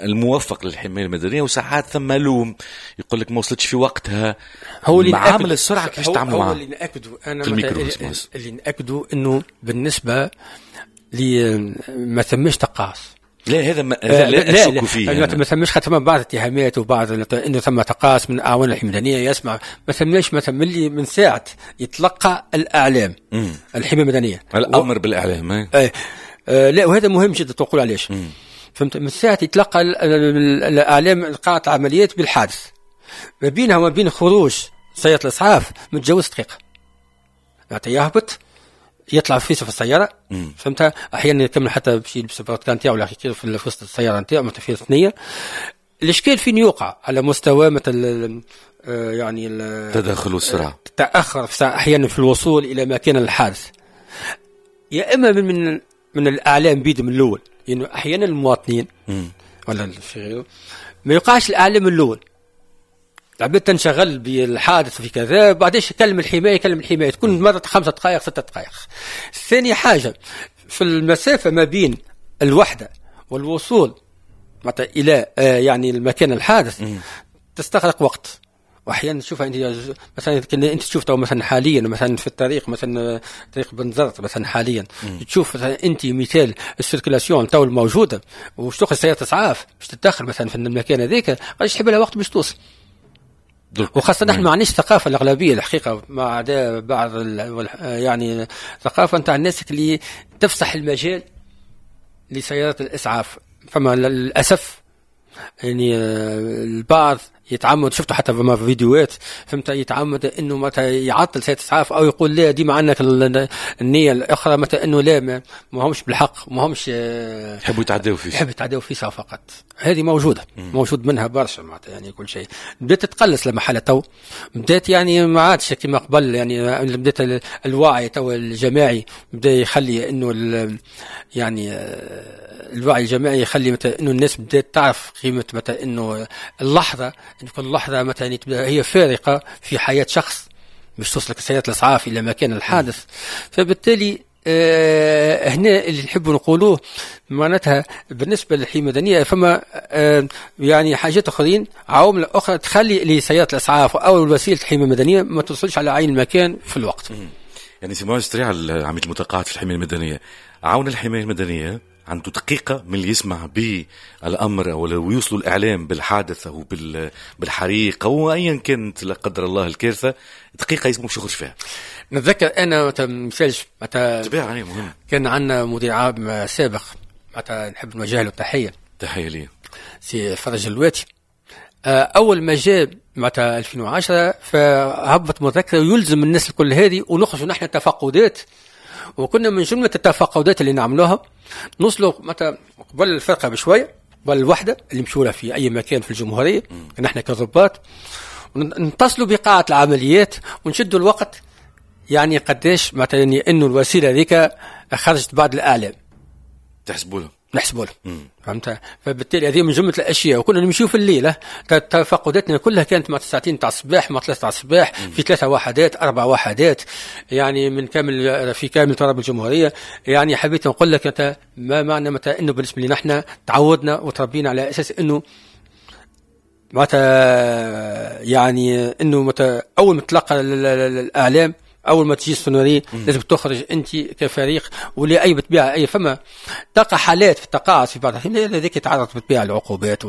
الموفق للحماية المدنيه، وساعات ثم لوم يقول لك ما وصلتش في وقتها. هو اللي عامل السرعة كيفاش تعملوا معاه؟ هو اللي ناكدوا انا في الميكرو اللي ناكدوا انه بالنسبة لي ما ثماش تقاعس. لا هذا ما هذا لا اشك فيه. لا ما ثماش، خاطر بعض الاتهامات وبعض انه ثم تقاعس من اعوان الحماية المدنيه، يسمع ما ثماش، ما ثم اللي من ساعة يتلقى الاعلام الحماية المدنية الامر بالاعلام. لا وهذا مهم جدا تقول علاش. فهمت، من ساعة يتلقى الاعلام قاعة العمليات بالحادث، ما بينها وما بين خروج سيارة الاسعاف متجاوز دقيقة، يعني يهبط يطلع في السياره. فهمتها، احيانا يكمل حتى باش يلبس البرتكان نتاعو ولا في وسط السيارة نتاعو مثلا في ثنيه. الاشكال فين يوقع على مستوى مثل يعني التدخل والسرعه، التاخر احيانا في الوصول الى مكان الحادث، يا اما من الاعلام بيد من الاول، لانه يعني احيانا المواطنين ولا في غيره ما يوقعش الاعلام الاول، العباد تنشغل بالحادث في كذا، بعدين يكلم الحماية، يكلم الحماية تكون مرت 5 دقائق 6 دقائق. ثاني حاجة في المسافة ما بين الوحدة والوصول معناتها الى يعني المكان الحادث تستغرق وقت. واحيانا تشوفها انت مثلا، انت تشوف تو مثلا حاليا مثلا في الطريق مثلا طريق بنزرت مثلا حاليا تشوف مثلا انت مثال ال circulation تو الموجودة وش تاخذ سيارة اسعاف باش تتدخل مثلا في المكان هذاك، قداش تحب لها وقت باش توصل. وخاصة نحن ما عندناش ثقافة الأغلبية الحقيقة، ما عدا بعض يعني ثقافة نتاع الناس اللي تفسح المجال لسيارات الإسعاف. فما للأسف يعني البعض يتعمد، شفته حتى في فيديوهات، فهمت، يتعمد انه متى يعطل سيارة اسعاف او يقول لا ديما عندك النية الاخرى متى انه لا ما همش بالحق، ما همش يحبوا يتعداو فيه، يحبوا يتعداو فيه فقط. هذه موجودة موجود منها برشا معناتها، يعني كل شيء بدات تتقلص لما حالة تو بدات، يعني ما عادش كما قبل، يعني بدات الوعي تو الجماعي بدا يخلي انه يعني الوعي الجماعي يخلي متى انه الناس بدات تعرف قيمة متى انه اللحظة، ان كل لحظة مثلا هي فارقه في حياة شخص باش توصلك سيارة الاسعاف الى مكان الحادث. فبالتالي هنا اللي نحب نقولوه معناتها بالنسبة للحماية المدنية فما يعني حاجات اخرين، عوامل اخرى تخلي لسيارة الاسعاف او وسيلة الحماية المدنية ما توصلش على عين المكان في الوقت. يعني سي معز سريع العميد المتقاعد في الحماية المدنية، عون الحماية المدنية عنده دقيقة من اللي يسمع بالأمر أو لو يوصلوا الإعلام بالحادث أو بالحريق أو أيا كانت لا قدر الله الكارثة، دقيقة يسمو باش يخرج فيها. نتذكر أنا مثالش معناتها مهم، كان عندنا مدير عام سابق معناتها نحب نوجه له تحية، تحية ليه، سي فرج الواتي. أول ما جاء معناتها 2010 فهبط مذكرة يلزم الناس الكل هذه، ونخرجوا نحن تفقدات، وكنا من جملة التفقدات اللي نعملوها نوصلوا مثلا قبل الفرقة بشوية، قبل الوحدة اللي مشوا لها في أي مكان في الجمهورية، نحن كضباط نتصلوا بقاعة العمليات ونشدوا الوقت، يعني قداش مثلا إنه الوسيلة هذيك خرجت بعد الإعلام تحسبوا لها، نحسبوا لها، فهمت؟ فبالتالي هذه من جملة الاشياء. وكنا نمشيو في الليلة، تفقداتنا كلها كانت مع 9 تاع الصباح، مع 3 تاع الصباح، في 3 وحدات 4 وحدات، يعني من كامل في كامل تراب الجمهورية. يعني حبيت نقول لك انت ما معنى متى انه بالنسبة لنا احنا تعودنا وتربينا على اساس انه متى يعني انه متى اول ما تلقى الاعلام، اول ما تجي ال sonnerie لازم تخرج انت كفريق ولا اي بطبيعة اي فما تلقى حالات في التقاعس في بعض الاحيان هذيك يتعرض بالطبيعة للعقوبات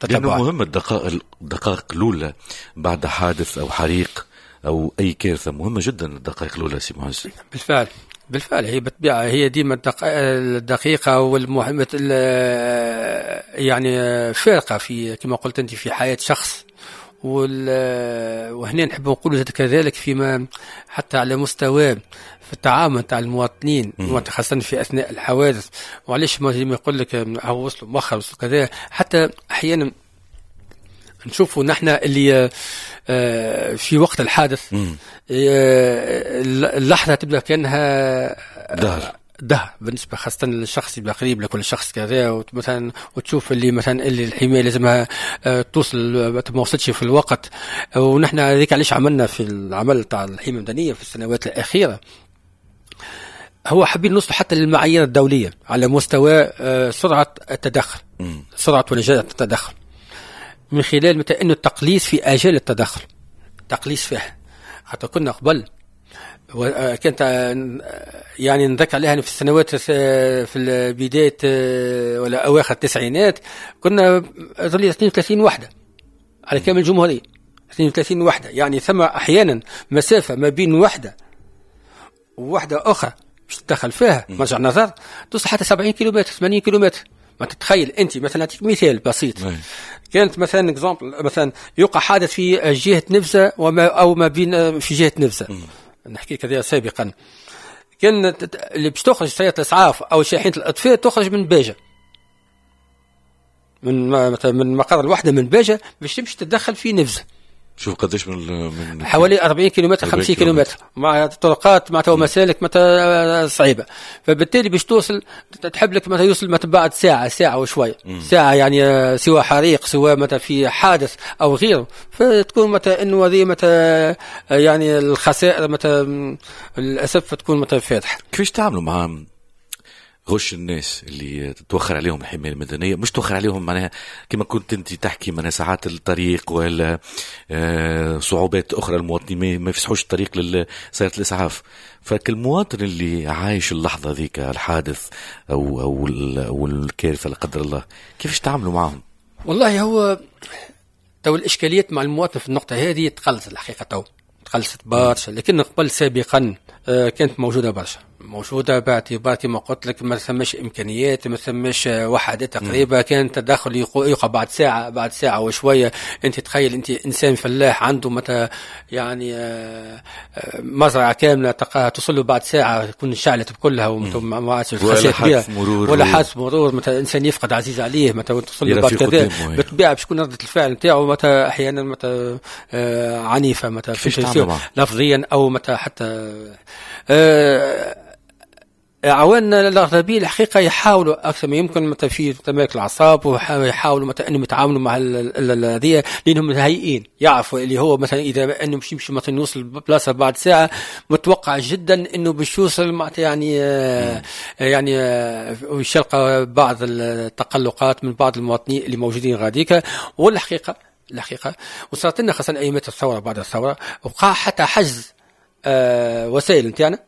لانه مهم الدقائق الاولى بعد حادث او حريق او اي كارثة، مهمة جدا الدقائق الاولى سي معز. بالفعل بالفعل، هي بالطبيعة هي ديما الدقيقة والمهمه يعني فارقه في كما قلت انت في حياة شخص. وهنا نحب نقول كذلك فيما حتى على مستوى في التعامل تاع المواطنين خاصة في أثناء الحوادث. وعلاش ما يقول لك هو وصلوا مؤخر وصلوا كذا، حتى أحيانا نشوفوا نحن اللي في وقت الحادث اللحظة تبدأ كأنها دهر بالنسبة خاصة للشخص يبقى قريب لكل شخص كذا، مثلا وتشوف اللي مثلا اللي الحماية لازمها توصل ما وصلتش في الوقت. ونحن هذيك علاش عملنا في العمل تاع الحماية المدنية في السنوات الاخيرة، هو حابين نوصل حتى للمعايير الدولية على مستوى سرعة التدخل، سرعة ونجاعه التدخل، من خلال مثلا انه التقليص في اجال التدخل، تقليص فيها. حتى كنا قبل كانت يعني نذكر عليها في السنوات في بداية ولا أواخر التسعينات، كنا ظل 32 وحدة على كامل الجمهورية، 32 وحدة. يعني ثم أحيانا مسافة ما بين وحدة ووحدة أخرى باش تدخل فيها مرجع نظر توصل حتى 70 كيلومتر، 80 كيلومتر. ما تتخيل أنت مثلا، أعطيك مثال بسيط، كانت مثلا exemple مثلا يوقع حادث في جهة نفسه وما أو ما بين في جهة نفسه، نحكي كذا سابقا، كان اللي باش تخرج سيارة الإسعاف أو شاحنة الأطفاء تخرج من باجة، من مقر الوحدة من باجة باش تمشي تتدخل في نفزة. شوف قداش من حوالي 40 كيلومتر، 50 كيلومتر، مع طرقات مع مسالك متى صعيبة. فبالتالي باش توصل تحب لك مثلا يوصل مثلا بعد ساعة، ساعة وشوية، ساعة يعني سواء حريق سواء مثلا في حادث او غيره، فتكون مثلا انه هذه مثلا يعني الخسائر مثلا للاسف تكون مثلا فادحة. كيفاش تعملوا مع غش الناس اللي تتوخر عليهم الحماية المدنية؟ مش توخر عليهم معناها كما كنت انت تحكي، معناها ساعات الطريق ولا صعوبات اخرى، المواطنين ما يفسحوش الطريق لسيارة الاسعاف. فالمواطن اللي عايش اللحظة ذيك الحادث او الكارثة لا قدر الله، كيفاش تعاملوا معهم؟ والله هو تو الاشكاليات مع المواطن في النقطة هذه تقلصت الحقيقة، تو تقلصت برشا، لكن قبل سابقا كانت موجودة برشا، موجودة باعتبار كما قلت لك ما ثماش إمكانيات، ما ثماش وحدات تقريبا، كان التدخل يوقع بعد ساعة، بعد ساعة وشوية. أنت تخيل أنت إنسان فلاح عنده متى يعني مزرعة كاملة توصل له بعد ساعة تكون شعلت بكلها وما عادش ولا حادث مرور، ولا حادث مرور، مثلا إنسان يفقد عزيز عليه متى توصل له بعد كذا، بالطبيعة باش تكون ردة الفعل نتاعو متى أحيانا متى عنيفة، متى لفظيا أو متى حتى عواننا الأغلبية الحقيقة يحاولوا أكثر ما يمكن متى في تمالك الأعصاب، ويحاولوا متى أنهم يتعاملوا مع هذه، لأنهم متهيئين يعرفوا اللي هو مثلا إذا أنه مش يمشي مثلا يوصل بلاصة بعد ساعة متوقع جدا أنه باش يوصل معناتها يعني ويشلقى بعض التقلقات من بعض المواطنين اللي موجودين غاديكا. والحقيقة الحقيقة وصارت لنا خاصة أيامات الثورة، بعد الثورة وقع حتى حجز وسائل نتاعنا،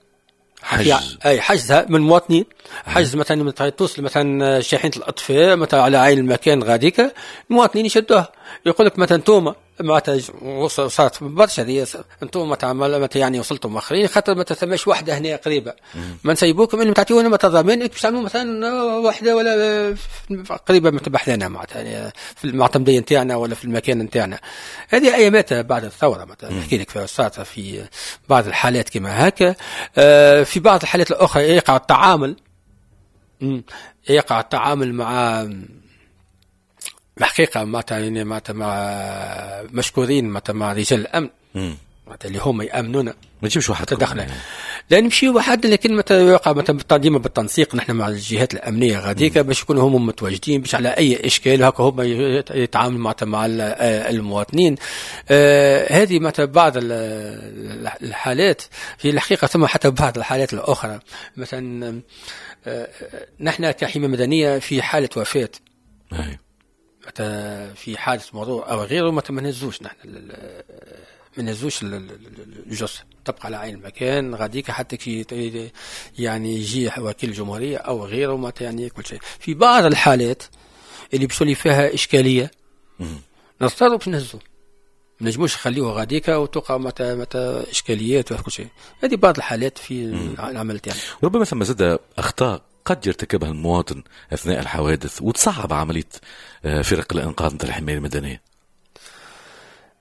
حجز. اي حجزها من مواطنين، حجز مثلا توصل مثلا شاحنة الاطفاء مثلا على عين المكان غاديك، المواطنين يشدوها، يقول لك مثلا انتوما معناتها صارت برشا هذه، انتوما مثلا يعني وصلتوا مؤخرين خاطر ما ثماش وحده هنا قريبه، ما نسيبوكم انهم تعطيونا مثلا ضمان باش تعملوا مثلا وحده ولا قريبه من بحذانا معناتها يعني في المعتمديه نتاعنا ولا في المكان نتاعنا. هذه ايامات بعد الثورة مثلا نحكي لك، صارت في بعض الحالات كما هكا. في بعض الحالات الاخرى يقع التعامل، يقع التعامل مع الحقيقة معناتها يعني معناتها مع مشكورين معناتها مع رجال الأمن معناتها اللي هما يأمنونا، ما تمشيوش وحدكم تدخلنا يعني. لا نمشيو وحدنا، لكن متى يقع مثلا ديما بالتنسيق نحن مع الجهات الأمنية غاديك باش يكونوا هما متواجدين باش على أي إشكال هكا هما يتعاملوا معناتها مع المواطنين. هذه معناتها بعض الحالات في الحقيقة. ثم حتى بعض الحالات الأخرى مثلا نحن كحماية مدنية في حالة وفاة في حادث مرور او غيره ما نهزوش نحن، ما نهزوش الجثة، تبقى على عين المكان غاديك حتى كي يعني يجي وكيل الجمهورية او غيره ما يعني كل شيء. في بعض الحالات اللي باش تولي فيها اشكالية نضطروا باش نهزوه، ما نجموش نخليوه غاديك وتوقع متى اشكاليات وكل شيء. هذه بعض الحالات في العمل تاعنا. ربما ثم زاد اخطاء قد يرتكبها المواطن أثناء الحوادث وتصعب عملية فرق الإنقاذ مثل الحماية المدنية.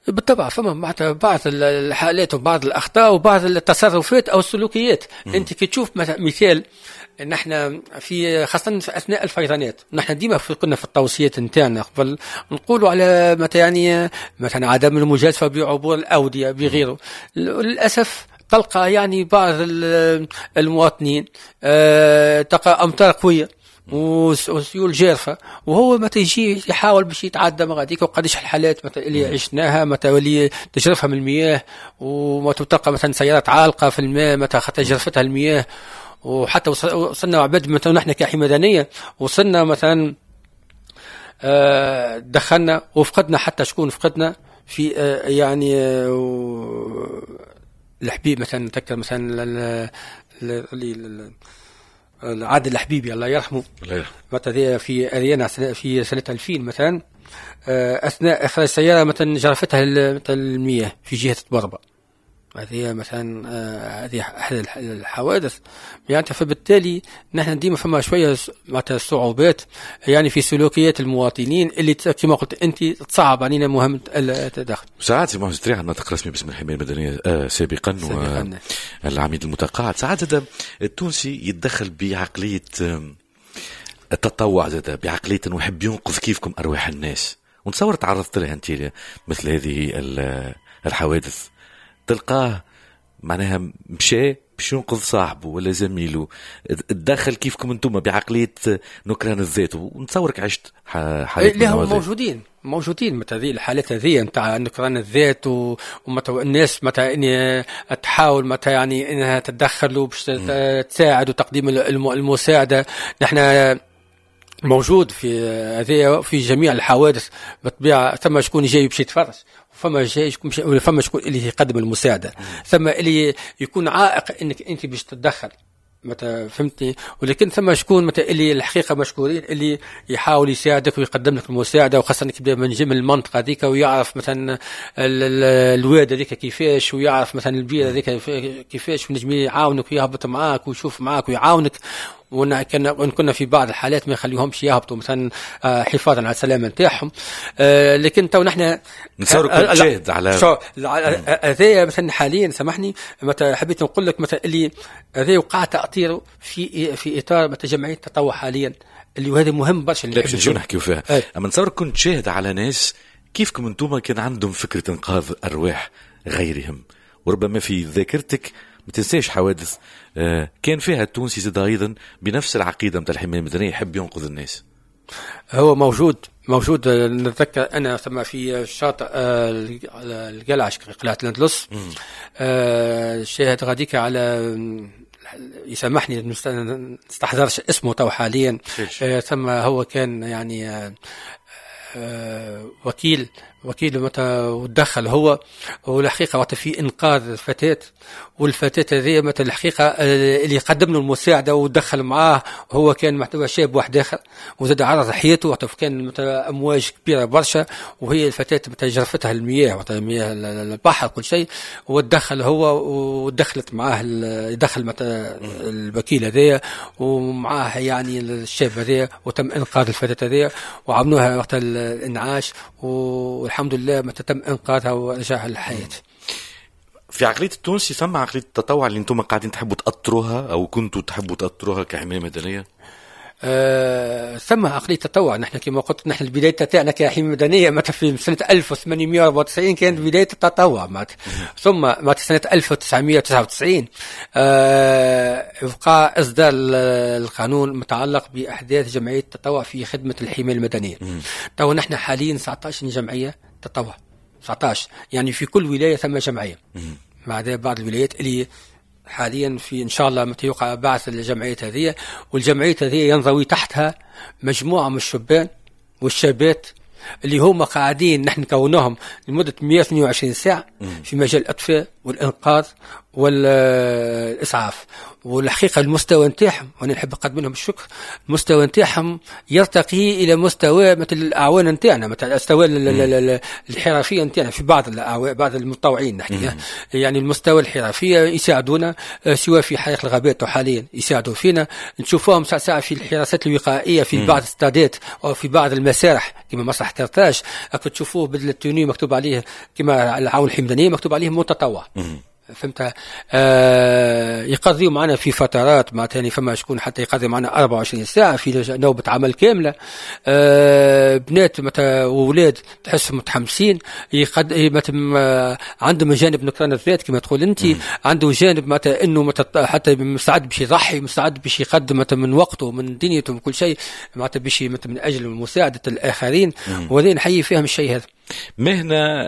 بالطبع فما بعض الحالات وبعض الأخطاء وبعض التصرفات أو السلوكيات. أنت كي تشوف مثال نحن في خاصة في أثناء الفيضانات، نحن ديما كنا في التوصيات نتاعنا قبل نقولوا على متى يعني مثلا عدم المجازفة بعبور الأودية بغيره. للأسف تلقى يعني بعض المواطنين تلقى أمطار قوية وسيول جارفة وهو ما تيجي يحاول باش يتعدى ما غاديك، وقداش الحالات مثلا اللي عشناها متى ولي تجرفها من المياه، وما تلقى مثلا سيارات عالقة في الماء متى خاطر جرفتها المياه، وحتى وصلنا عباد مثلا نحن كحماية مدنية وصلنا مثلا دخلنا وفقدنا حتى شكون فقدنا في يعني الحبيب مثلا، نتذكر مثلا عادل الحبيبي الله يرحمه، مثلا في اريانا في سنة 2000 مثلا، اثناء اخراج سيارة مثلا جرفتها المياه في جهة طبربة. هذه مثلا هذه احد الحوادث يعني. فبالتالي نحن ديما فما شوية معناتها صعوبات يعني في سلوكيات المواطنين اللي كما قلت انت تصعب علينا مهمة التدخل. ساعات سي معز تريعة الناطق الرسمي باسم الحماية المدنية سابقا والعميد المتقاعد، ساعات زاد التونسي يتدخل بعقلية التطوع، زاد بعقلية انه يحب ينقذ كيفكم ارواح الناس، ونتصور تعرضت لها انت مثل هذه الحوادث، تلقاه معناها مشى باش ينقذ صاحبه ولا زميله، تدخل كيفكم انتم بعقلية نكران الذات، ونتصورك عشت حالات. لا هم موجودين مثل هذه الحالات هذه نتاع نكران الذات، ومثلا الناس مثلا اني تحاول مثلا يعني انها تتدخل وباش تساعد وتقديم المساعدة. نحن موجود في هذه في جميع الحوادث بالطبيعة، ثم شكون جاي باش يتفرج، فما جاي فما شكون اللي يقدم المساعدة، ثم اللي يكون عائق انك انت باش تتدخل متى فهمتني، ولكن ثم شكون متى اللي الحقيقة مشكورين اللي يحاول يساعدك ويقدم لك المساعدة، وخاصة انك يبدا من المنطقة هذيك ويعرف مثلا الواد هذيك كيفاش، ويعرف مثلا البيئة هذيك كيفاش، ونجم يعاونك ويهبط معاك ويشوف معاك ويعاونك. وإن كنا في بعض الحالات ما يخليهمش يهبطوا مثلا حفاظا على السلامة نتاعهم، لكن تو نحن نتصور كنت شاهد على هذايا مثلا حاليا. سامحني مثلا حبيت نقول لك مثلا اللي هذا وقع تأطيره في اطار مثلا جمعية التطوع حاليا، اللي وهذا مهم برشا اللي باش نجيو نحكيو فيها. اما نتصور كنت شاهد على ناس كيفكم انتم كان عندهم فكرة انقاذ ارواح غيرهم، وربما في ذاكرتك ما تنساش حوادث كان فيها التونسي زاد ايضا بنفس العقيدة نتاع الحماية المدنية يحب ينقذ الناس. هو موجود نتذكر انا ثم في شاطئ القلعة قلعه الاندلس، شاهد غاديك على يسامحني نستحضرش اسمه تو حاليا، ثم هو كان يعني وكيل متى ودخل هو، والحقيقة وقت في انقاذ الفتاة، والفتاه هذه متى الحقيقة اللي قدم له المساعدة ودخل معاه هو كان محتوى شاب واحد اخر، وزاد عرض حياته وقت كان متى امواج كبيرة برشا، وهي الفتاة متى جرفتها المياه وقت مياه البحر كل شيء، ودخل هو ودخلت معاه دخل متى الوكيل هذايا ومعاه يعني الشاب هذايا، وتم انقاذ الفتاة هذيا وعملوها وقت الانعاش، والحمد لله متى تم انقاذها ورجعها للحياة. في عقلية التونسي ثم عقلية التطوع اللي انتم قاعدين تحبوا تأطروها او كنتوا تحبوا تأطروها كحمايه مدنية؟ ثم عقلية التطوع. نحن كما قلت نحن البداية تاعنا كحمايه مدنية متى في سنة 1894 كانت بداية التطوع معناتها. ثم معناتها سنة 1999 وقع اصدار القانون المتعلق باحداث جمعية التطوع في خدمة الحماية المدنية. تو نحن حاليا 19 جمعية تطوع، 19 يعني في كل ولاية ثم جمعية، مع بعض الولايات اللي حاليا في ان شاء الله متى يوقع بعث الجمعيات هذه، والجمعيات هذه ينضوي تحتها مجموعة من الشبان والشابات اللي هما قاعدين نحن كوناهم لمدة 122 ساعة في مجال الاطفاء والانقاذ والاسعاف. والحقيقة المستوى نتاعهم، وانا نحب نقدم لهم الشكر، المستوى نتاعهم يرتقي الى مستوى مثل الاعوان نتاعنا، مثل المستوى الحرفية نتاعنا في بعض بعض المتطوعين نحكي، يعني المستوى الحرفية يساعدونا سواء في حريق الغابات حاليا يساعدوا فينا، نشوفوهم ساعة ساعة في الحراسات الوقائية في بعض الاستادات او في بعض المسارح كما مسرح كرتاج، تشوفوه بدل ال tenue مكتوب عليه كما العون الحمدانيه مكتوب عليه متطوع. فهمت؟ يقضيوا معنا في فترات معناتها يعني فما شكون حتى يقضي معنا 24 ساعة في نوبه عمل كاملة. بنات متى واولاد تحسهم متحمسين، عندهم جانب نكران الذات كما تقول انت، عنده جانب معناتها انه حتى مستعد باش يضحي، مستعد باش يقدم معناتها من وقته من دنيته من كل شيء معناتها باش من اجل مساعدة الاخرين، وهذا نحيي فيهم الشيء هذا. مهنة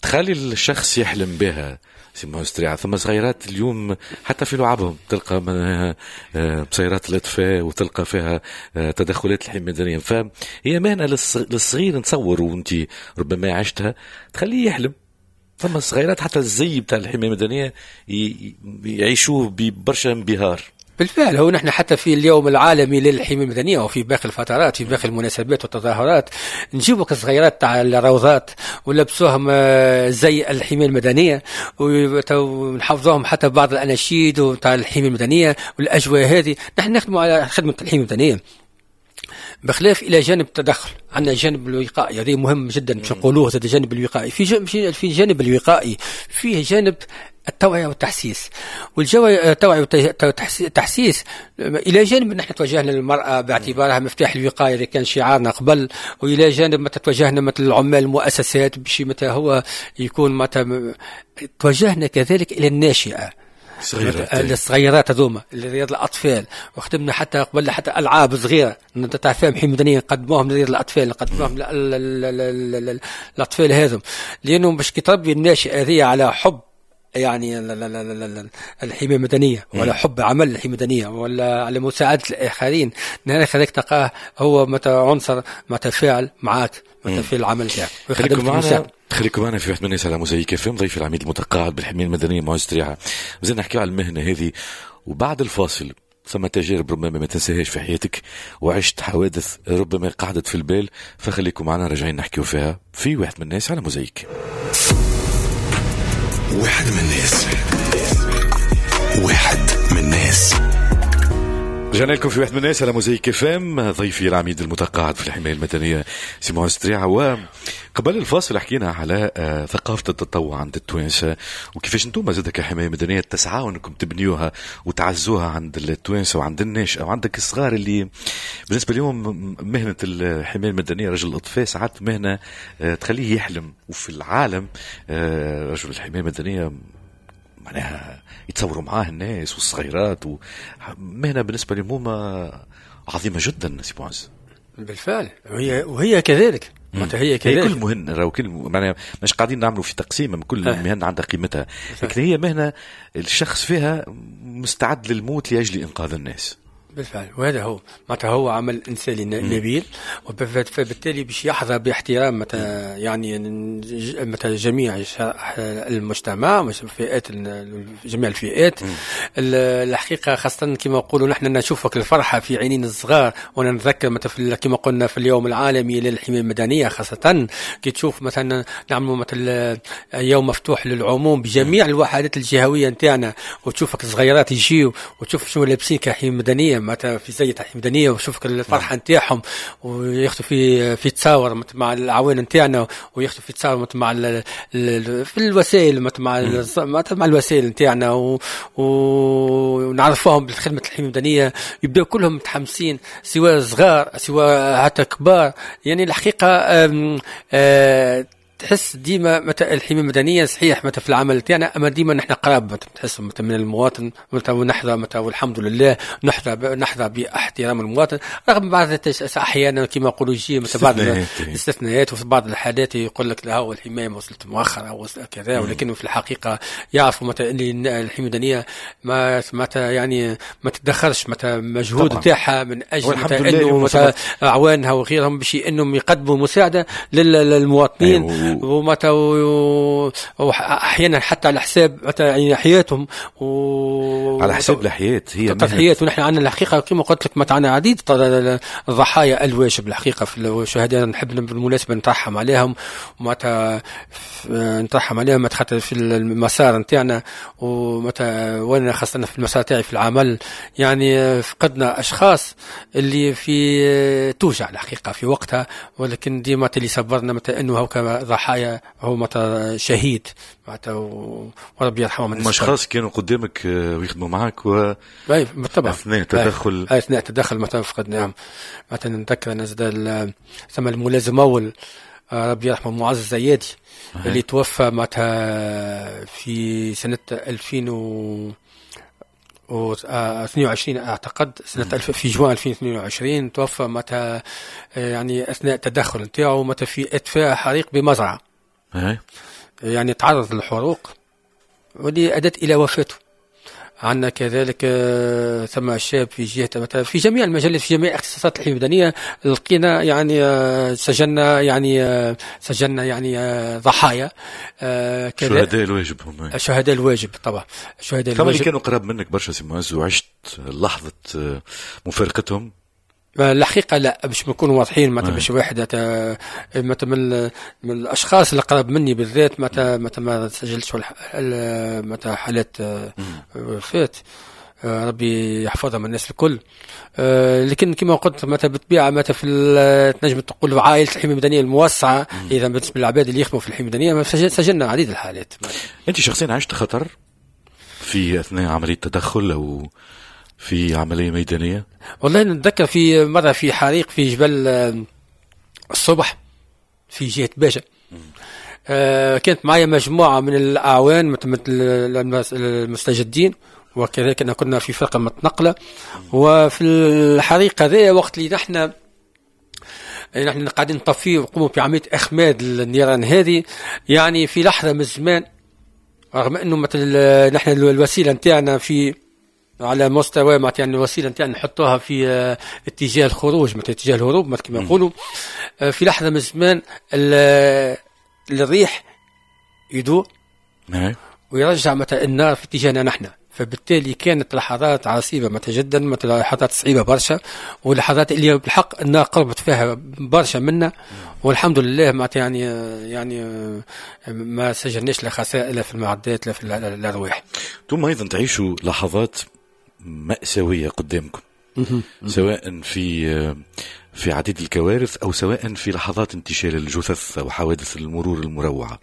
تخلي الشخص يحلم بها سي معز تريعة. ثم صغيرات اليوم حتى في لعبهم تلقى بصيرات الاطفاء وتلقى فيها تدخلات الحماية المدنية، فهي مهنة للصغير نتصور، وانت ربما عشتها، تخليه يحلم. ثم الصغيرات حتى الزي بتاع الحماية المدنية يعيشوه ببرشا انبهار. بالفعل، هو نحن حتى في اليوم العالمي للحماية المدنية وفي باقي الفترات في باقي المناسبات والتظاهرات نجيبوا الصغيرات تاع الروضات ولبسوهم زي الحماية المدنية ونحفظوهم حتى بعض الأناشيد تاع الحماية المدنية والأجواء هذه. نحن نخدموا على خدمة الحماية المدنية بخلاف الى جانب التدخل، عندنا جانب الوقائي، هذا مهم جدا باش نقولوه. هذا الجانب الوقائي، في جانب الوقائي فيه جانب التوعية والتحسيس، والتوعية والتحسيس إلى جانب نحن توجهنا للمرأة باعتبارها مفتاح الوقاية اللي كان شعارنا قبل، وإلى جانب متى توجهنا مثل العمال المؤسسات باش متى هو يكون متى توجهنا كذلك إلى الناشئة الصغيرات هذوما رياض الاطفال، وخدمنا حتى قبل حتى العاب صغيرة تعرفهم حماية مدنية نقدموهم لرياض الاطفال، نقدموهم الاطفال هذم، لانهم باش كي تربي الناشئة هذه على حب يعني الحماية المدنية ولا حب عمل الحماية المدنية ولا على مساعدة الاخرين، نهار هذاك تلقاه هو متى عنصر متفاعل معاك متى في العمل تاعك. خليكم معنا في واحد من الناس على موزايك اف ام، ضيف العميد المتقاعد بالحمايه المدنية معز تريعه. مازلنا نحكيو على المهنة هذه، وبعد الفاصل ثم تجارب ربما ما تنساهاش في حياتك وعشت حوادث ربما قعدت في البال، فخليكم معنا راجعين نحكيو فيها في واحد من الناس على موزايك. واحد من الناس، واحد من الناس. رجعنا لكم في واحد من الناس على موزايك اف ام، ضيفي العميد المتقاعد في الحماية المدنية سي معز تريعه. وقبل الفاصل حكينا على ثقافة التطوع عند التوانسة وكيفاش انتم زاد كحمايه مدنية تسعوا انكم تبنيوها وتعزوها عند التوانسة وعند الناشئة وعندك الصغار اللي بالنسبة لهم مهنة الحماية المدنية رجل الاطفاء ساعات مهنة تخليه يحلم. وفي العالم رجل الحماية المدنية معناها يتصوروا معاه الناس والصغيرات، ومهنة بالنسبة لهم عظيمة جدا سي معز. بالفعل، وهي كذلك. هي كذلك كل مهنة راهو كل معناها مش قاعدين نعملوا في تقسيم، كل مهنة عندها قيمتها، لكن هي مهنة الشخص فيها مستعد للموت لأجل إنقاذ الناس. بالفعل، وهذا هو معناتها هو عمل انساني نبيل، وبالتالي باش يحظى باحترام متى يعني متى جميع المجتمع، فئات جميع الفئات. الحقيقة خاصة كما نقولوا نحن نشوفك الفرحة في عينين الصغار، وانا نتذكر متى كما قلنا في اليوم العالمي للحماية المدنية، خاصة كي تشوف مثلا نعملوا مثل يوم مفتوح للعموم بجميع الوحدات الجهوية نتاعنا، وتشوفك الصغيرات يجيو وتشوف شنو لابسين كحمايه مدنية معناتها في زي تاع مدنية، وشوفك الفرحة نتاعهم وياخذوا في تصاور مع العوان نتاعنا، وياخذوا في تصاور مع في الوسائل مع الوسائل نتاعنا، ونعرفوهم بالخدمة الحماية المدنية، يبداو كلهم متحمسين سواء صغار سواء حتى كبار. يعني الحقيقة تحس ديما متى الحماية المدنية صحيح متى في العمل تاعنا، اما ديما نحن قراب تحس متى من المواطن، متى ونحظى متى والحمد لله نحظى باحترام المواطن، رغم بعض احيانا كما نقولوا يجي متى بعض الاستثناءات، وفي بعض الحالات يقول لك لا هو الحماية وصلت مؤخرا او كذا، ولكن في الحقيقة يعرفوا متى ان الحماية المدنية ما متى يعني ما تتدخلش متى مجهود تاعها من اجل متى انه متى اعوانها وغيرهم باش انهم يقدموا مساعدة للمواطنين. ومتى واحيانا حتى على حساب متى يعني حياتهم على حساب الحياة هي تضحيات. ونحن عندنا الحقيقة كما قلت لك متى عندنا عديد الضحايا الواجب الحقيقة في الشهداء، نحب بالمناسبة نترحم عليهم، ومتى نترحم عليهم خاطر في المسار نتاعنا، ومتى وانا خاصة في المسار تاعي في العمل يعني فقدنا اشخاص اللي في توجع الحقيقة في وقتها، ولكن ديما اللي صبرنا متى انه هو ضحايا هو متى شهيد معناتها، وربي يرحمه. من اشخاص كانوا قدامك ويخدموا معك و بالطبع اثناء التدخل، اثناء التدخل متى فقدناهم. مثلا نتذكر انا زاد ثم الملازم اول ربي يرحمه معز الزيادي اللي توفى معناتها في سنة 2022 اعتقد، سنة في جوان 2022 توفى معناتها يعني اثناء التدخل نتاعو معناتها في اطفاء حريق بمزرعه. يعني تعرض للحروق واللي ادت الى وفاته. عندنا كذلك ثم شاب في جهة مثلا في جميع المجالات، في جميع اختصاصات الحماية المدنية لقينا يعني سجلنا يعني سجلنا يعني ضحايا. شهداء الواجب هم. شهداء الواجب طبعا. شهداء الواجب. اللي كانوا قراب منك برشا سي معز وعشت لحظة مفارقتهم؟ الحقيقة لا، باش نكونوا واضحين معناتها باش واحد معناتها من الاشخاص اللي قرب مني بالذات معناتها ما سجلتش معناتها حالات وفاة، ربي يحفظهم الناس الكل. لكن كما قلت معناتها بالطبيعة معناتها في تنجم تقول عائلة الحماية المدنية الموسعه، اذا بالنسبة للعباد اللي يخدموا في الحماية المدنية سجلنا عديد الحالات. انت شخصيا عشت خطر في اثناء عملية تدخل او في عملية ميدانية؟ والله نتذكر في مرة في حريق في جبل الصبح في جهة باجة. كانت معي مجموعة من الأعوان مثل المستجدين، وكذلك كنا في فرقة متنقلة. وفي الحريق هذا وقت اللي نحن قاعدين نطفيه ونقوموا بعملية إخماد النيران هذه، يعني في لحظة من الزمان رغم أنه مثل نحن الوسيلة نتاعنا في على مستوى معناتها يعني الوسيلة نتاعنا نحطوها في اتجاه الخروج مثل اتجاه الهروب مثل كما يقولوا، في لحظة من الزمان الريح يدور ويرجع مثلا النار في اتجاهنا نحن، فبالتالي كانت لحظات عصيبة مثلا جدا، مثلا لحظات صعيبة برشا، ولحظات اللي بالحق النار قربت فيها برشا منا، والحمد لله معناتها يعني ما سجلناش لا خسائر لا في المعدات لا في الارواح. ثم ايضا تعيشوا لحظات مأساوية قدامكم، سواء في عديد الكوارث أو سواء في لحظات انتشال الجثث أو حوادث المرور المروعة.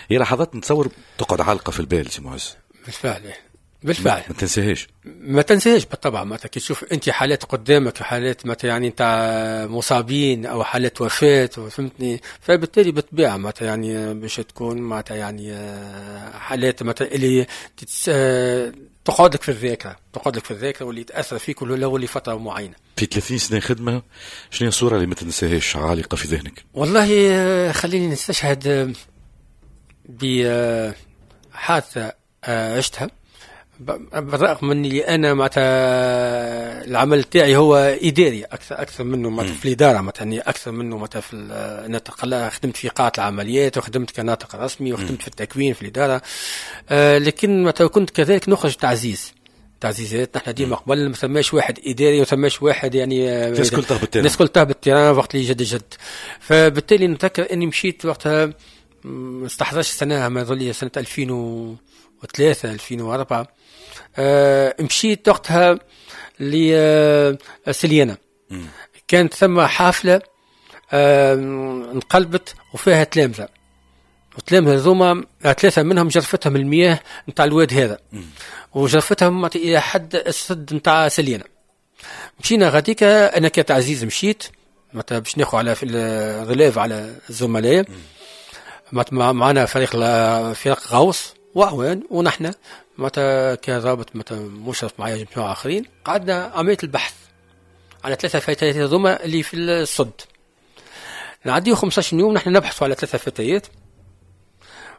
هي لحظات نتصور تقعد عالقة في البال سي معز. بالفعل بالفعل ما تنساهاش، ما تنساهاش بالطبع. معناتها كي تشوف انت حالات قدامك، حالات معناتها يعني نتاع مصابين او حالات وفاة، فهمتني، فبالتالي بالطبيعة معناتها يعني باش تكون معناتها يعني حالات معناتها اللي تقعد لك في الذاكرة، تقعد لك في الذاكرة واللي تاثر فيك ولو لفترة معينة. في 30 سنة خدمة، شنو هي الصورة اللي ما تنساهاش عالقة في ذهنك؟ والله خليني نستشهد بحادثة عشتها، بالرغم من اللي انا معناتها العمل تاعي هو اداري اكثر منه معناتها في الادارة، معناتها يعني اكثر منه معناتها في انا خدمت في قاعة العمليات وخدمت كناطق رسمي وخدمت في التكوين في الادارة، لكن معناتها كنت كذلك نخرج تعزيزات. نحن ديما قبل ما ثماش واحد اداري وثماش واحد يعني الناس كل تهبط ال terrain، الناس كل تهبط ال terrain وقت اللي جد. فبالتالي نتذكر اني مشيت وقتها، ما استحضرش السنة، ما يظل سنة 2003 2004، مشيت وقتها لسليانة. كانت ثم حافلة انقلبت وفيها تلامذة، وتلامذة هذوما ثلاثة منهم جرفتهم المياه نتاع الواد هذا، وجرفتهم إلى حد السد نتاع سليانة. مشينا غاديك، أنا كتعزيز مشيت معناتها باش ناخذ على في ال relève على الزملاء، معنا فريق غوص وأعوان، ونحن معناتها كضابط معناتها مشرف معايا جماعة آخرين، قعدنا عملية البحث على ثلاثة فتيات هذوما اللي في الصد. نعديو 15 يوم نحن نبحثوا على ثلاثة فتيات.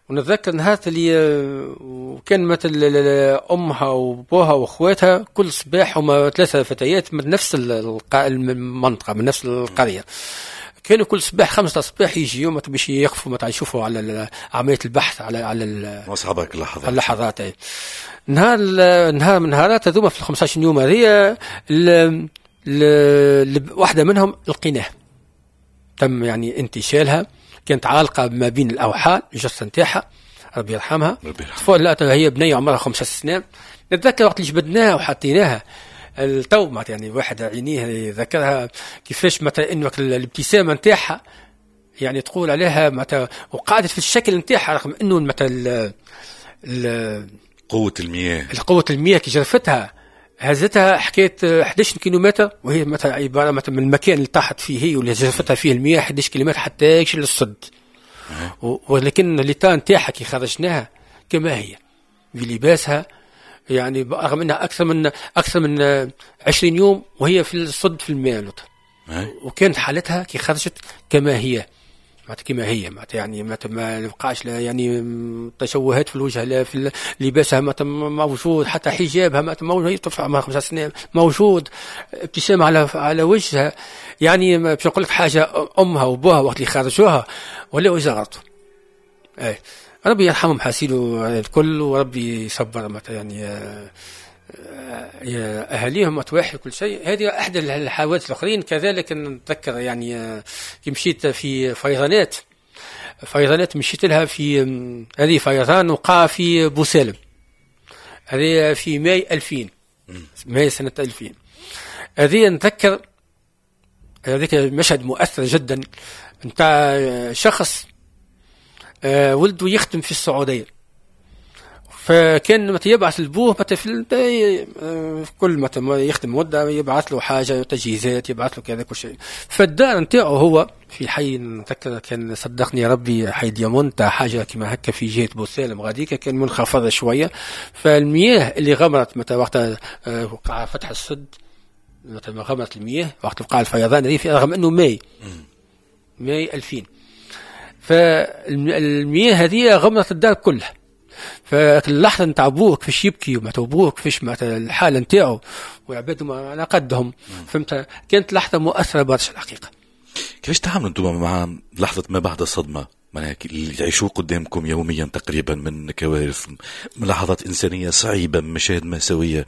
ونتذكر نهار اللي وكان مثل أمها وأبوها وأخواتها كل صباح هما ثلاثة فتيات من نفس المنطقة من نفس القرية، كانوا كل صباح 5 صباح يجيو باش يقفوا متاع يشوفوا على عملية البحث على اصحابك اللحظات اللحظات. نهار من نهارات هذوما في 15 يوم هذه واحدة منهم لقيناها، تم يعني انتشالها، كانت عالقة ما بين الاوحال الجثة نتاعها، ربي يرحمها. لا هي بنيه عمرها 5 سنين. نتذكر وقت اللي جبدناها وحطيناها التو يعني واحد عينيه يذكرها كيفاش مثلا انه الابتسامة نتاعها يعني تقول عليها مثلا، وقعدت في الشكل نتاعها رغم انه مثلا قوة المياه، قوة المياه كي جرفتها هزتها حكاية 11 كيلومتر، وهي مثلا عبارة مثلا من المكان اللي طاحت فيه هي واللي جرفتها فيه المياه 11 كيلومتر حتى يكشف للصد. ولكن l'état نتاعها كي خرجناها كما هي بلباسها يعني رغم انها اكثر من 20 يوم وهي في الصد في الماء، وكانت حالتها كي خرجت كما هي، معناتها كما هي، معناتها يعني ما بقاش لا يعني تشوهات في الوجه، لا في لباسها موجود، حتى حجابها موجود، هي طفلة عمرها 5 سنين موجود، ابتسامة على وجهها. يعني باش نقول لك حاجة، امها وابوها وقت اللي خرجوها ولاو يزغرطوا. اي ربي يرحمهم حاسيلو الكل، وربي يصبر معناتها يعني اهاليهم متواحد كل شيء. هذه احدى الحوادث الاخرين. كذلك نتذكر يعني كي مشيت في فيضانات مشيت لها في هذه فيضان وقع في بوسالم، هذه في ماي 2000، ماي سنة 2000. هذه نتذكر هذيك مشهد مؤثر جدا نتاع شخص ولده يخدم في السعودية، فكان متى يبعث لبوه متى في كل متى يخدم مدة يبعث له حاجة، تجهيزات، يبعث له كذا كل شيء. فالدار نتاعو هو في حي نتذكر كان صدقني ربي حي ديامونتا حاجة كما هكا في جهة بوسالم غاديكا، كان منخفضة شوية. فالمياه اللي غمرت متى وقت وقع فتح السد، متى غمرت المياه وقت وقع الفيضان هذه، رغم انه ماي 2000، فالمياه هذه غمرت الدار كلها. فاللحظه نتاع بوه كيفاش يبكي ومعناتها بوه كيفاش معناتها الحالة نتاعو وعبادهم على قدهم، فهمت؟ كانت لحظة مؤثرة برشا الحقيقة. كيفاش تعاملوا انتم مع لحظة ما بعد الصدمة؟ معناها اللي تعيشوه قدامكم يوميا تقريبا من كوارث، من لحظات انسانيه صعيبة، من مشاهد مأساوية،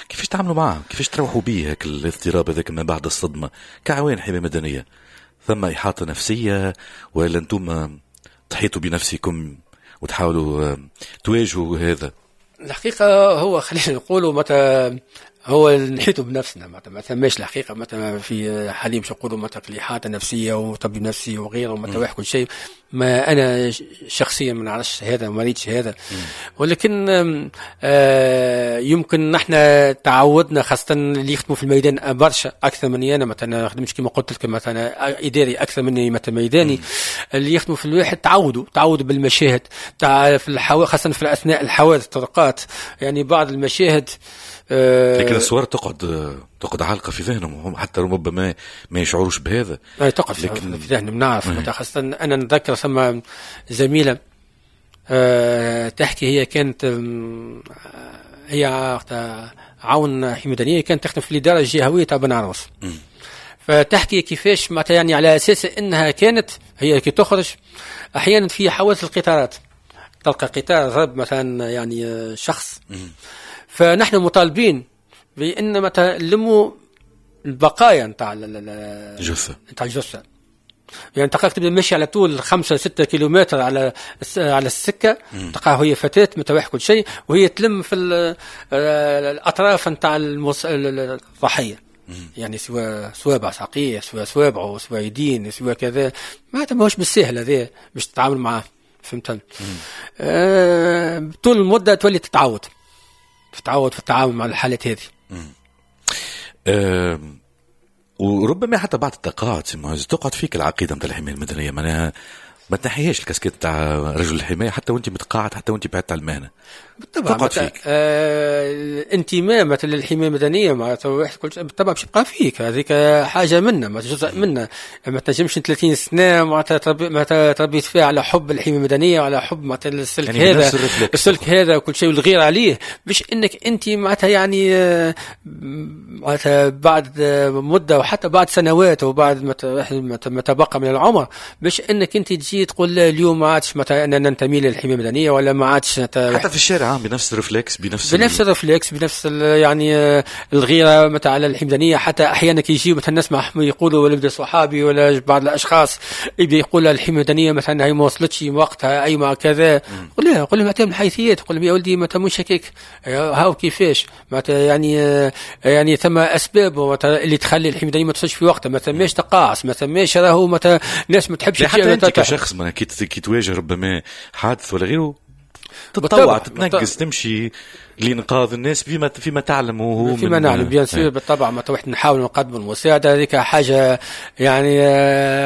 كيفاش تعاملوا معها؟ كيفاش تروحوا به هاك الاضطراب هذاك ما بعد الصدمة كعوان حماية مدنية؟ ثم احاطة نفسية ولا انتم تحيطوا بنفسكم وتحاولوا تواجهوا هذا؟ الحقيقة هو خلينا نقولوا متى هو نحيطوا بنفسنا، ما ثماش الحقيقة متى في حاليا باش نقولوا متى إحاطة نفسية وطبيب نفسي وغيره ومتى واحد كل شيء. ما أنا شخصيا ما نعرفش هذا وما ريتش هذا، ولكن يمكن نحن تعودنا، خاصة اللي يخدموا في الميدان برشا أكثر مني أنا، مثلا خدمتش كما قلت لك مثلا إداري أكثر مني مثلا ميداني. اللي يخدموا في الواحد تعودوا بالمشاهد تاع في خاصة في أثناء الحوادث الطرقات، يعني بعض المشاهد. لكن الصور تقعد عالقة في ذهنهم هم، حتى ربما ما يشعروش بهذا. تقعد في ذهنهم، نعرف. خاصة أنا نتذكر ثم زميلة تحكي، هي كانت هي عون حماية مدنية، كانت تخدم في الإدارة الجهوية تاع بن عروس. فتحكي كيفاش معناتها يعني على أساس أنها كانت هي كي تخرج أحيانا في حوادث القطارات، تلقى قطار ضرب مثلا يعني شخص، فنحن مطالبين بأن مثلا نلموا البقايا نتاع الجثة، نتاع الجثة. يعني تلقاك تبدا ماشي على طول 5-6 كيلومتر على السكة، تلقاها هي فتاة متواح كل شيء، وهي تلم في الأطراف نتاع الضحية، يعني سواء سوابع ساقية، سواء سوابعه، سواء يدين، سواء كذا. ماهوش بالسهل هذا باش تتعامل معاه، فهمت؟ طول المدة تولي تتعود في التعامل مع الحالات هذه. وربما حتى بعد التقاعد تقعد فيك العقيدة نتاع الحماية المدنية، معناها ما تنحيهاش الكاسكيت تاع رجل الحماية حتى وانت متقاعد، حتى وانت بعدت على المهنة. بالطبع تقعد فيك الانتماء مثلا للحماية المدنية، معناتها واحد كل شيء بالطبع باش يبقى فيك، هذيك حاجة منا، معناتها جزء منا. ما تنجمش 30 سنة معناتها تربيت فيها على حب الحماية المدنية وعلى حب معناتها السلك يعني هذا، السلك هذا وكل شيء والغير عليه، باش انك انت معناتها يعني معناتها بعد مده وحتى بعد سنوات وبعد ما تبقى من العمر، باش انك انت تجي تقول لا اليوم ما عادش مثلا انا ننتمي للحماية المدنية ولا ما عادش حتى في الشارع بنفس ال réflexe، بنفس ال réflexe، بنفس يعني الغيرة مثلا على الحماية المدنية. حتى احيانا كي يجيو مثلا نسمع يقولوا ولا بدا صحابي ولا بعض الاشخاص يبدا يقول الحماية المدنية مثلا هي ما وصلتش وقتها، اي ما كذا. قول له قول لهم من الحيثيات، قول لهم يا ولدي ما مش هكاك، هاو كيفاش معناتها يعني ثم اسباب اللي تخلي الحماية المدنية ما توصلش في وقتها، ما ثماش تقاعس، ما ثماش راهو مثلا ناس ما تحبش. حتى انت كشخص ما كي تواجه ربما حادث ولا غيره تتطوع، تتنقص، تمشي لإنقاذ الناس فيما تعلم وهو فيما نعلم bien sûr بالطبع. ما واحد نحاول نقدم المساعدة، هذيك حاجة يعني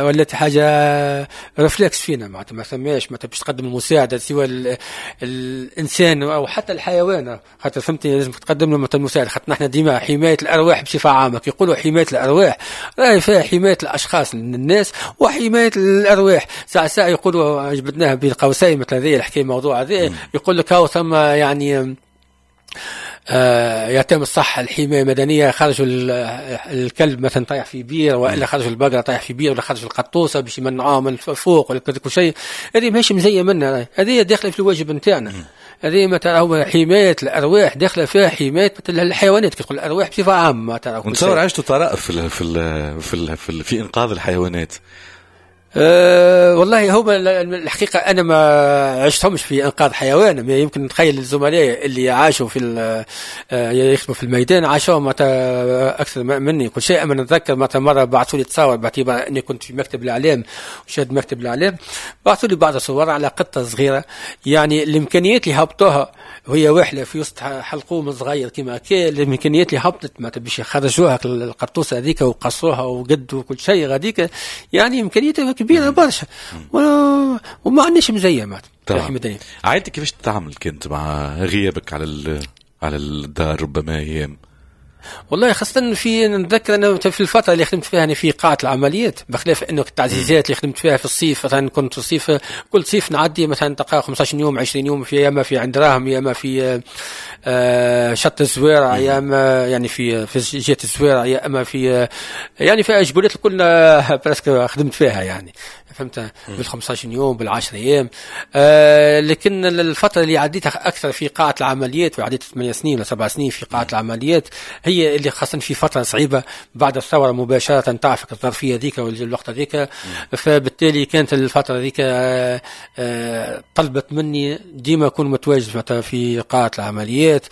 ولات حاجة réflexe فينا، معناتها ما ثماش معناتها باش تقدم المساعدة سواء الانسان او حتى الحيوان، خاطر فهمتني لازم تقدم له المساعدة، خاطر نحن ديما حماية الارواح بصفة عامة، كي يقولوا حماية الارواح راهي فيها حماية الاشخاص الناس وحماية الارواح. ساعة ساعة يقولوا جبدناها بين قوسين مثل هذه الحكاية الموضوع هذا، يقول لك هاو ثم يعني يتم الصح الحماية المدنية، خرجوا الكلب مثلا طايح في بير، والا خرجوا البقرة طايح في بير، ولا خرجوا القطوسه باش يمنعوها من فوق ولا كل شيء. هذه ماهيش مزية منا، هذه داخله في الواجب نتاعنا. هذه مثلا هو حماية الارواح داخله فيها حماية مثل الحيوانات، كي تقول الارواح بصفة عامة. ونتصور عشتوا طرائف في ال في ال في, ال في, ال في انقاذ الحيوانات. والله هو الحقيقة أنا ما عشتهمش في إنقاذ حيوان، يمكن نتخيل الزملاء اللي عاشوا في يخدموا في الميدان عاشوا أكثر مني كل شيء. أما نتذكر مثلا مرة بعثوا لي تصور باعتبار أني كنت في مكتب الإعلام وشاد مكتب الإعلام، بعثوا لي بعض الصور على قطة صغيرة، يعني الإمكانيات اللي هبطوها وهي واحلة في وسط حلقوم صغير كما كان، الإمكانيات اللي هبطت ما باش يخرجوها القطوسة هذيك وقصوها وقدوا كل شيء غاديك، يعني إمكانياتها كبيرة برشا وما عندناش مزية معناتها. عائلتك كيفاش تتعامل كنت مع غيابك على الدار ربما ايام؟ والله خاصة في نتذكر أنا في الفترة اللي خدمت فيها أنا في قاعة العمليات، بخلاف أنه التعزيزات اللي خدمت فيها في الصيف، مثلا كنت في الصيف كل صيف نعدي مثلا تلقى 15 يوم 20 يوم في ياما في عند راهم، ياما في شط الزويرة، ياما يعني في جهة الزويرة، يا اما في يعني في جبولات الكل presque خدمت فيها يعني فهمت، بال 15 يوم بال 10 ايام. لكن الفترة اللي عديتها أكثر في قاعة العمليات، وعديت 8 سنين ولا 7 سنين في قاعة العمليات، هي اللي خاصة في فترة صعيبة بعد الثورة مباشرة، تعرف الظرفية ذيك والوقت ذيك، فبالتالي كانت الفترة ذيك طلبت مني ديما أكون متواجد في قاعة العمليات.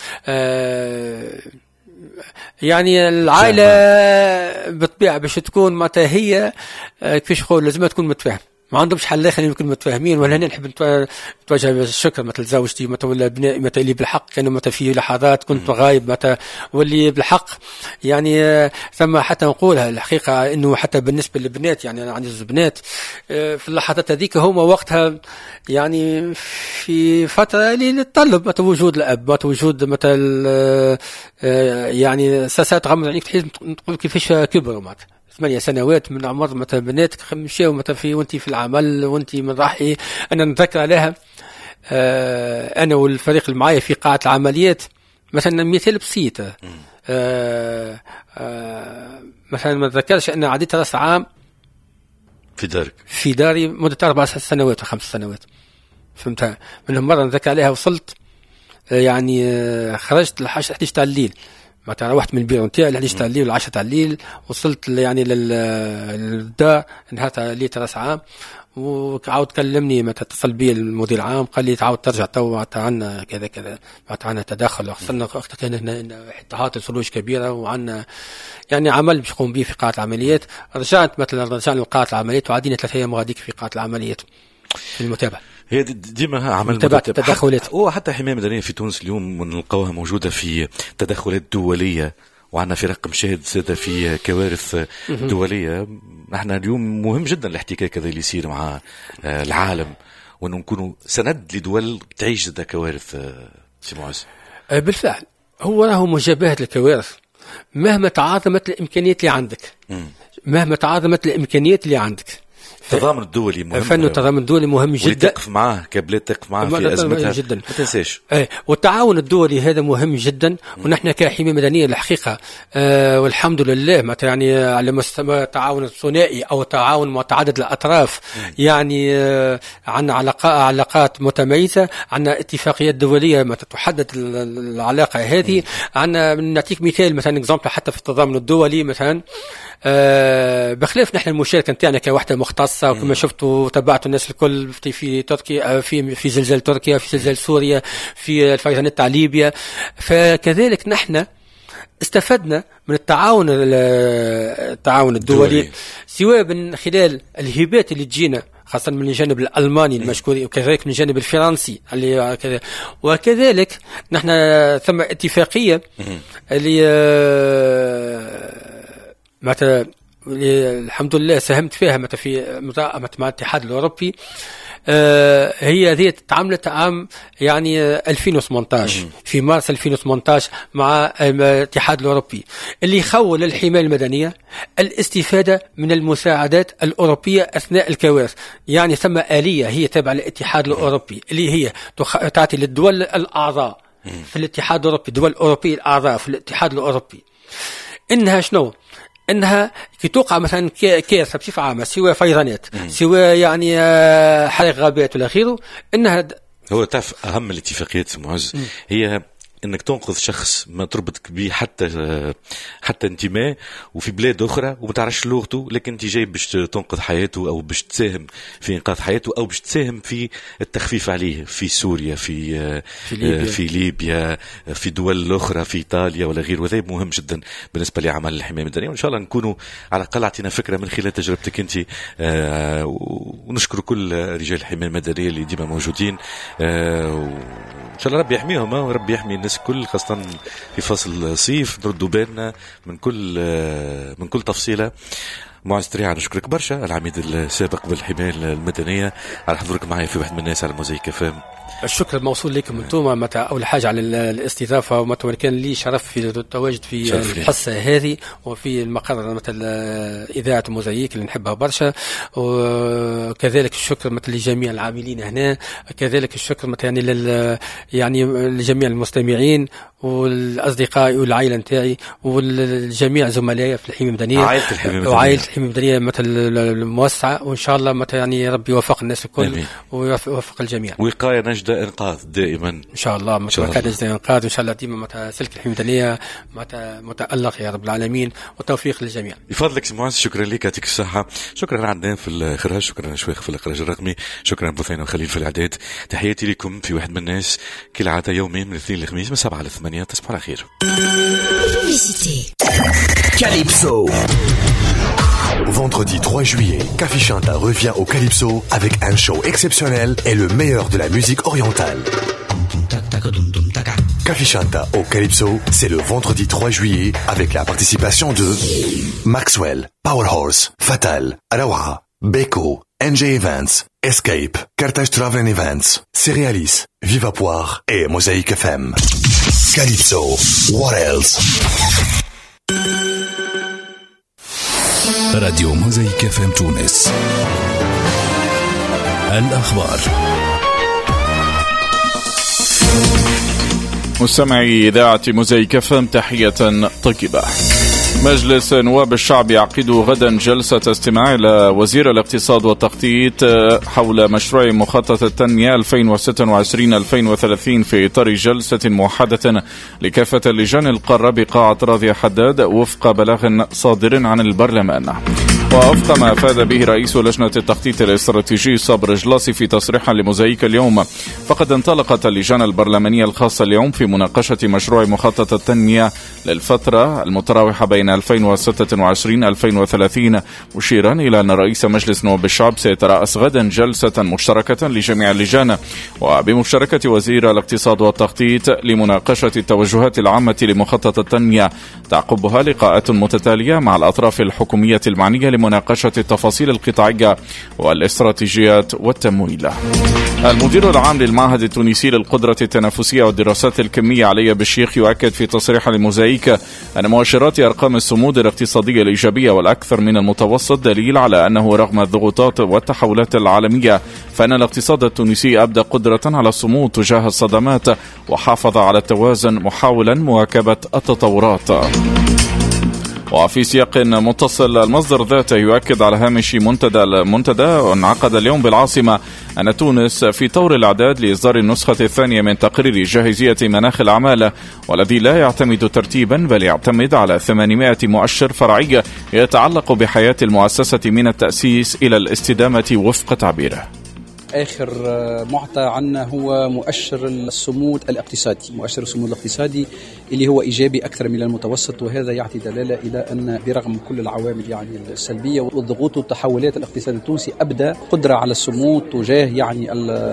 يعني العائلة بالطبيعة باش تكون معناتها هي كيفاش نقول لازم تكون متفاهم، ما عندهمش حل اخر يمكن متفاهمين. ولا هنا نحب نتوجه بالشكر مثل زوجتي مثل ولا ابنائي مثل اللي بالحق كانوا مثل في لحظات كنت غايب مثل واللي بالحق يعني ثم حتى نقولها الحقيقة انه حتى بالنسبة للبنات، يعني انا عندي زوج بنات في اللحظات هذيك هما وقتها يعني في فترة اللي تطلب مثل وجود الاب مثل وجود مثل يعني ساسات تغمض عينيك تحس تقول كيفاش كبروا معناتها 8 سنوات من عمر مثلا بناتك مشاو مثلا في وانت في العمل وانت من راحي. انا نتذكر عليها انا والفريق اللي معايا في قاعة العمليات مثلا مثال بسيط، مثلا ما نتذكرش ان عديت راس عام في دارك في داري مده 4 سنوات او 5 سنوات فهمتها. منهم مرة نتذكر عليها وصلت يعني خرجت ل 11 تاع الليل، معناتها روحت من البيرو نتاعي ل 11 تاع الليل ولا 10 تاع الليل، وصلت يعني للدار نهار تاع الليل راس عام، وعاود كلمني معناتها اتصل بي المدير العام قال لي تعاود ترجع تو معناتها عندنا كذا كذا معناتها عندنا تدخل، خاصة وقتها كان هنا تهاطل ثلوج كبيرة وعندنا يعني عمل باش نقوم به في قاعة العمليات. رجعت مثلا رجعنا لقاعه العمليات وعدينا 3 ايام غاديك في قاعة العمليات في المتابعة. هي ديما عمل متابعة التدخلات، وحتى حماية مدنية في تونس اليوم نلقاوها موجودة في تدخلات دولية، وعندنا فرق مشاهد زادة في كوارث دولية. نحن اليوم مهم جدا الاحتكاك هذا اللي يصير مع العالم، وأنه نكونوا سند لدول تعيش زادة كوارث. سي معز بالفعل هو راهو مجابهة الكوارث مهما تعاظمت الإمكانيات اللي عندك، مهما تعاظمت الإمكانيات اللي عندك، التضامن الدولي مهم، فن التضامن الدولي مهم جدا، تقف معاه كبلاد تقف معاه في ازمتها جدا، ما تنساش. والتعاون الدولي هذا مهم جدا. ونحن كحمايه مدنية الحقيقة والحمد لله مثلا يعني على مستوى التعاون الثنائي او تعاون متعدد الاطراف، يعني عندنا علاقات متميزة، عندنا اتفاقيات دولية ما تحدد العلاقة هذه. عندنا نعطيك مثال مثلا exemple حتى في التضامن الدولي مثلا، بخلاف نحن المشاركة نتاعنا كوحده مختصة، وكما شفتوا تبعتوا الناس الكل في تركيا، في زلزال تركيا، في زلزال سوريا، في الفيضانات تاع ليبيا، فكذلك نحن استفدنا من التعاون الدولي سواء من خلال الهبات اللي تجينا، خاصة من الجانب الألماني المشكور، وكذلك من الجانب الفرنسي اللي كذا. وكذلك نحن ثم اتفاقية اللي معناتها الحمد لله ساهمت فيها معناتها في مع الاتحاد الأوروبي. هي هذه تعاملت عام يعني 2018 في مارس 2018 مع الاتحاد الأوروبي، اللي يخول الحماية المدنية الاستفادة من المساعدات الأوروبية أثناء الكوارث. يعني ثم آلية هي تابعة للاتحاد الأوروبي اللي هي تعطي للدول الأعضاء في الاتحاد الأوروبي، الدول الأوروبية الأعضاء في الاتحاد الأوروبي، إنها شنو؟ انها كي توقع مثلا كارثة بصفة عامة، سواء فيضانات، سواء يعني حريق غابات ولا غيره، انها هو تعرف اهم الاتفاقيات معز هي انك تنقذ شخص ما تربطك به حتى انتماء، وفي بلاد اخرى وما تعرفش لغته، لكن انت جاي باش تنقذ حياته او باش تساهم في انقاذ حياته او باش تساهم في التخفيف عليه في سوريا، في ليبيا، في دول اخرى، في ايطاليا ولا غيره. وهذا مهم جدا بالنسبة لعمل الحماية المدنية، وان شاء الله نكونوا على الاقل اعطينا فكرة من خلال تجربتك انت. ونشكر كل رجال الحماية المدنية اللي ديما موجودين، وان شاء الله ربي يحميهم وربي يحمي الناس الكل، خاصة في فصل الصيف نردوا بالنا من كل تفصيلة. معز تريعة نشكرك برشا، العميد السابق بالحماية المدنية، على حضورك معي في واحد من الناس على موزايك FM. الشكر موصول لكم انتم متى اول حاجة على الاستضافة، ومتى كان لي شرف في التواجد في الحصة هذه وفي المقر مثل اذاعة موزايك اللي نحبها برشا. وكذلك الشكر مثل لجميع العاملين هنا، كذلك الشكر مثل يعني يعني لجميع المستمعين والاصدقاء والعائلة نتاعي والجميع زملائي في الحماية المدنية، عائلة الحماية المدنية، وعائلة الحماية المدنية مثل الموسعه. وان شاء الله مثل يعني ربي يوفق الناس الكل ويوفق الجميع. وقاية نجدة انقاذ دائما ان شاء الله، وقاية نجدة انقاذ، وان شاء الله ديما متى سلك الحماية المدنية متالق يا رب العالمين، والتوفيق للجميع. يفضلك سي معز، شكرا لك، يعطيك الصحة. شكرا عدنان في الاخراج، شكرا شويخ في الاخراج الرقمي، شكرا بثينة وخليل في الاعداد. تحياتي لكم في واحد من الناس كالعادة يومين من الاثنين للخميس من 7 ل 8. تصبحوا على خير. Calypso. Vendredi 3 juillet, Café Chanta revient au Calypso avec un show exceptionnel et le meilleur de la musique orientale. Café Chanta au Calypso, c'est le vendredi 3 juillet avec la participation de Maxwell, Powerhorse, Fatal, Rawa, Beko, NJ Events, Escape, Carthage Travel Events, Cerealis, Viva Poire et Mosaïque FM. Calypso, what else? راديو موزايك FM تونس. الأخبار. مستمعي إذاعة موزايك FM، تحية طيبة. مجلس نواب الشعب يعقد غدا جلسة استماع إلى وزير الاقتصاد والتخطيط حول مشروع مخطط التنمية 2026-2030 في إطار جلسة موحدة لكافة اللجان القارة بقاعة راضية حداد وفق بلاغ صادر عن البرلمان. ووفق ما أفاد به رئيس لجنة التخطيط الاستراتيجي صابر جلاسي في تصريح لموزايك اليوم، فقد انطلقت اللجان البرلمانية الخاصة اليوم في مناقشة مشروع مخطط التنمية للفترة المتراوحة بين 2026-2030، مشيرا إلى أن رئيس مجلس نواب الشعب سيترأس غدا جلسة مشتركة لجميع اللجان وبمشاركة وزير الاقتصاد والتخطيط لمناقشة التوجهات العامة لمخطط التنمية، تعقبها لقاءات متتالية مع الأطراف الحكومية المعنية لمناقشة التفاصيل القطاعية والاستراتيجيات والتمويل. المدير العام للمعهد التونسي للقدرة التنافسية والدراسات الكمية علي بالشيخ يؤكد في تصريح لموزايك أن مؤشرات أرقام الصمود الاقتصادية الإيجابية والأكثر من المتوسط دليل على أنه رغم الضغوطات والتحولات العالمية فإن الاقتصاد التونسي أبدى قدرة على الصمود تجاه الصدمات وحافظ على التوازن محاولا مواكبة التطورات. وفي سياق متصل، المصدر ذاته يؤكد على هامش منتدى انعقد اليوم بالعاصمة أن تونس في طور الإعداد لإصدار النسخة الثانية من تقرير جاهزية مناخ الأعمال، والذي لا يعتمد ترتيبا بل يعتمد على 800 مؤشر فرعي يتعلق بحياة المؤسسة من التأسيس إلى الاستدامة وفق تعبيره. آخر معطى عنا هو مؤشر الصمود الاقتصادي، مؤشر الصمود الاقتصادي اللي هو إيجابي أكثر من المتوسط، وهذا يعطي دلالة إلى أن برغم كل العوامل يعني السلبية والضغوط والتحولات، الاقتصاد التونسي أبدى قدرة على الصمود تجاه يعني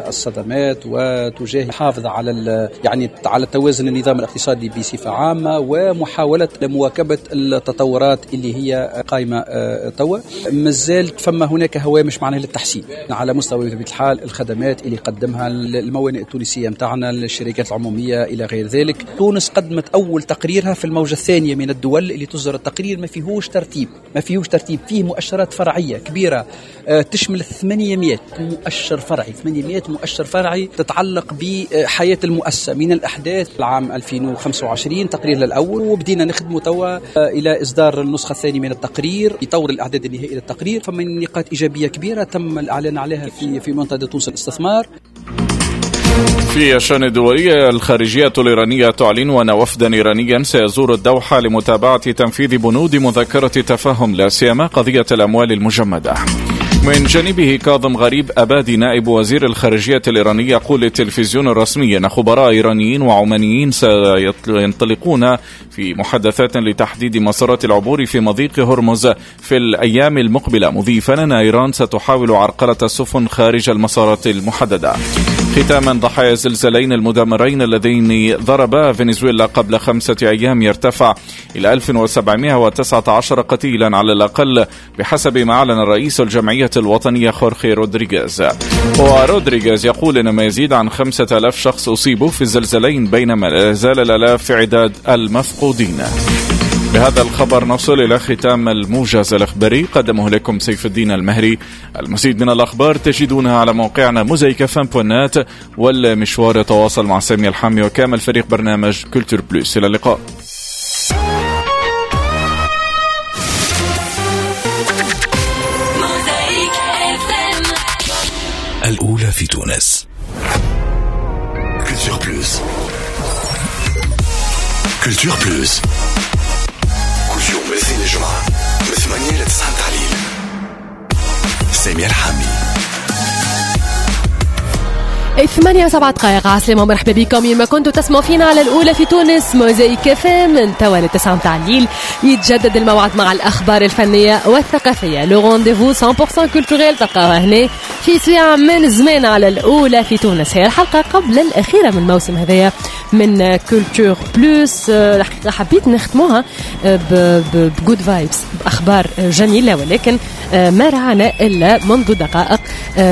الصدمات وتجاه حافظ على يعني على توازن النظام الاقتصادي بصفة عامة ومحاولة مواكبة التطورات اللي هي قائمة توا. مازال فما هناك هوامش معناها للتحسين على مستوى بطبيعة الحال الخدمات اللي قدمها الموانئ التونسية متاعنا، الشركات العمومية إلى غير ذلك. تونس قدمت أول تقريرها في الموجة الثانية من الدول اللي تصدر التقرير، ما فيهوش ترتيب، فيه مؤشرات فرعية كبيرة تشمل 800 مؤشر فرعي، 800 مؤشر فرعي تتعلق بحياة المؤسسة من الأحداث العام 2025 تقرير الأول، وبدينا نخدمه توا إلى إصدار النسخة الثانية من التقرير يطور الأعداد النهائي للتقرير. فمن نقاط إيجابية كبيرة تم الإعلان عليها في منتدى تونس الاستثمار. في الشأن الدولي، الخارجية الإيرانية تعلن أن وفدا إيرانيا سيزور الدوحة لمتابعة تنفيذ بنود مذكرة تفاهم، لا سيما قضية الأموال المجمدة. من جانبه كاظم غريب أبادي نائب وزير الخارجية الإيراني يقول للتلفزيون الرسمي أن خبراء إيرانيين وعمانيين سينطلقون في محادثات لتحديد مسارات العبور في مضيق هرمز في الأيام المقبلة، مضيفا أن إيران ستحاول عرقلة السفن خارج المسارات المحددة. ختاما، ضحايا الزلزالين المدمرين اللذين ضربا فنزويلا قبل 5 أيام يرتفع إلى 1719 قتيلا على الأقل بحسب ما أعلن رئيس الجمعية الوطنية خورخي رودريغيز. ورودريغيز يقول إن ما يزيد عن 5000 شخص أصيبوا في الزلزالين، بينما لا زال الآلاف في عداد المفقودين. بهذا الخبر نصل إلى ختام الموجز الإخباري قدمه لكم سيف الدين المهري. المزيد من الأخبار تجدونها على موقعنا mosaïquefm.net، والمشوار يتواصل مع سامي الحامي وكامل فريق برنامج Culture Plus. إلى اللقاء. الأولى في تونس. Culture Plus. Culture Plus. كل يوم الاثنين الجمعة من 8 ل 9 تعليل. سامي الحامي. 8:07 عسلامة ومرحبا بكم يما كنتوا تسمعوا فينا على الأولى في تونس Mosaïque FM. من توا 9 متاع الليل يتجدد الموعد مع الأخبار الفنية والثقافية، le rendez-vous 100% culturel تلقاوها هنا في ساعة من زمان على الأولى في تونس. هي الحلقة قبل الأخيرة من الموسم هذايا من Culture Plus. الحقيقة حبيت نختموها ب good vibes، بأخبار جميلة، ولكن ما رعانا إلا منذ دقائق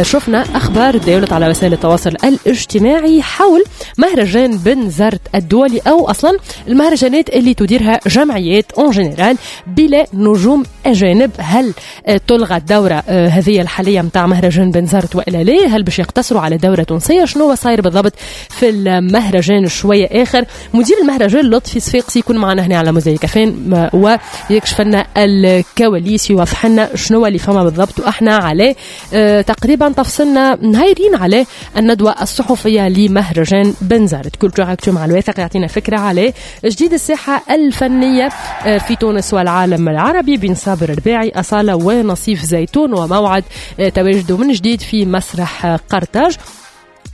شفنا أخبار داولت على وسائل التواصل الاجتماعي حول مهرجان بنزرت الدولي، أو أصلا المهرجانات اللي تديرها جمعيات en général بلا نجوم أجانب. هل تلغى الدورة هذه الحالية متاع مهرجان بنزرت وإلا لا؟ هل باش يقتصروا على دورة تونسية؟ شنو صاير بالضبط في المهرجان؟ شوية آخر مدير المهرجان لطفي صفاقسي يكون معنا هنا على Mosaïque FM ويكشف لنا الكواليس، يوضح لنا شنو اللي فما بالضبط. وإحنا عليه تقريبا تفصلنا نهايرين على الندوة الصحفية لمهرجان بنزرت. Culture Actu مع الواثق يعطينا فكرة على جديد الساحة الفنية في تونس والعالم العربي بين صابر الرباعي، أصالة ونصيف زيتون، وموعد تواجده من جديد في مسرح قرطاج.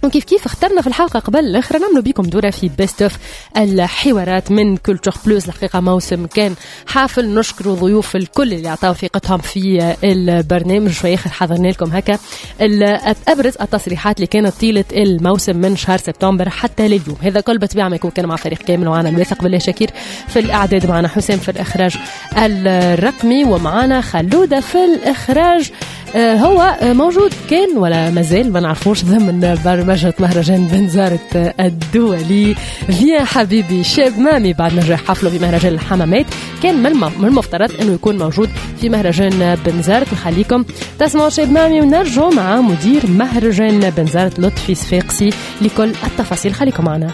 وكيف كيف اخترنا في الحلقة قبل الأخرى نعملوا بكم دورة في best of الحوارات من Culture Plus. الحقيقة موسم كان حافل، نشكر ضيوف الكل اللي عطاو ثقتهم في البرنامج. شوية آخر حضرنا لكم هكا أبرز التصريحات اللي كانت طيلة الموسم من شهر سبتمبر حتى لليوم. هذا كل بطبيعة ما يكون كان مع فريق كامل، وعنا الواثق بالله شاكير في الإعداد، معنا حسام في الإخراج الرقمي، ومعنا خلودة في الإخراج. هو موجود كان ولا مازال ما نعرفوش ضمن برمجة مهرجان بنزرت الدولي. فيا حبيبي شاب مامي بعد نجاح حفله في مهرجان الحمامات كان من المفترض انه يكون موجود في مهرجان بنزرت. نخليكم تسمعوا شاب مامي ونرجع مع مدير مهرجان بنزرت لطفي صفاقسي لكل التفاصيل. خليكم معنا.